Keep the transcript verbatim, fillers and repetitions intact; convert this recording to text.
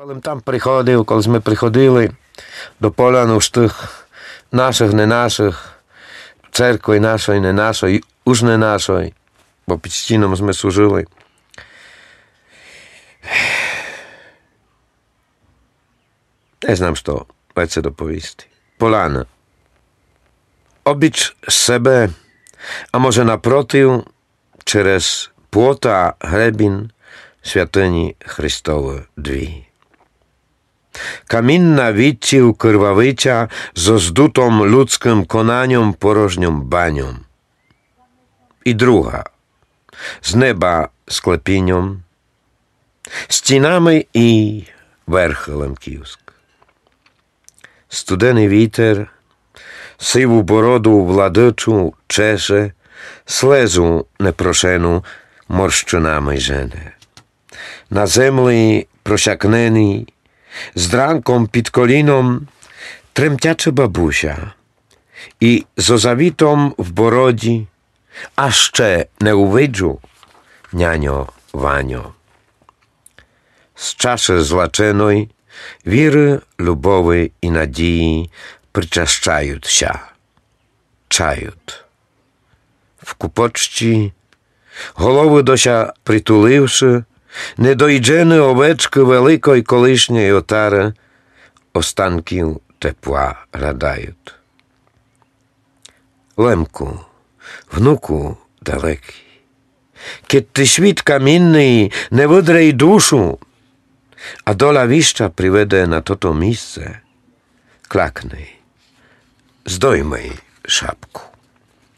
Коли м там приходив, коли сьме приходили до полян уж тых нашых, не нашых, церкви нашой, не нашой, уж не нашой, бо під стіном сьме служили. Не знам, што веце доповісти. Поляны. Обіч себе, а може напротив, через плота гребін святыні Христовы дві. Камінна відців кырвавиця зо здутом людскым конаньом порожньом баньом. І друга, з неба склепіньом, стінами і верхы лемківск. Студеный вітер сиву бороду владычу чеше, слезу непрошену морщынами жене. На землі просякненій, з дранком під коліном, тремтяче бабуся, і зо завітом в бородї, а ще не увиджу, няньо Ваньо. З чаши злаченой віры, любови і надії причащають ся. Чають. В купочці, головы до ся притуливши, недоїджены овечкы великой колишньой отары останків тепла радають. Лемку, внуку далекый, кед ти світ камінный не выдре й душу, а доля віща приведе на тото місце, клякни, здойми шапку.